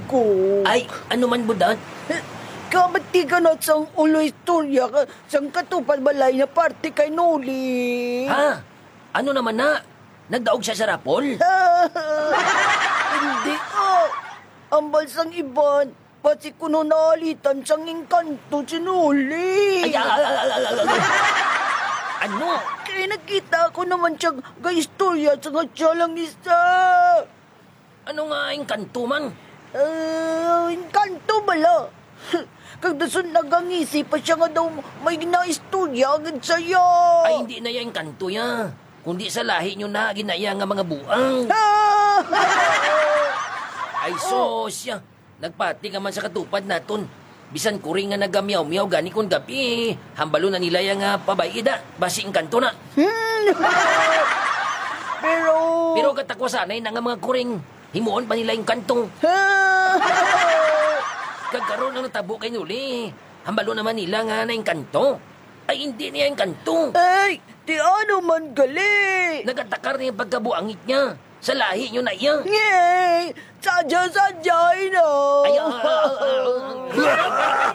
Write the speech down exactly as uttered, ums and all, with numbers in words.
ko. Ay, ano man, Budat? Kabati ka na sang ulo istorya ka, sang katupad balay na parte kay Noli. Ha? Ano naman na? Nagdaog siya sa rapol? Hindi, ah. Ambal sang iban, basi kuno naalitan sang engkanto si Noli. Ay, ah, ah, ah, ah, ah, ah. Ano? Kay nakita ko naman siya ga-istorya sa nga siya lang isa. Ano nga engkanto man? Ah, engkanto bala. Kag dason nagangisi pa siya nga daw may ginaistorya agad saya. Ay, hindi na ya engkanto ya. Kundi sa lahi nyo na ginaya nga mga buang. Ah! Ay, sus, ya. Nagpati ka man sa katupad naton. Bisan kuring nga nagamiyaw-miyaw gani kon gabi, hambalo na nila ya nga pabay-i da, basi engkanto na. Hmm. Pero Pero katakwa sanay na nga mga kuring, himuon pa nila engkanto. Kag karon ang natabo kay Nuli, hambalo naman nila nga naengkanto. Ay, hindi niya engkanto. Ay, ti ano man gali? Nagatakar niya pagkabuangit niya. Sa lahi niyo na iya. Ngey! Sadya-sadya na! Ay, ah, ah, ah, ah.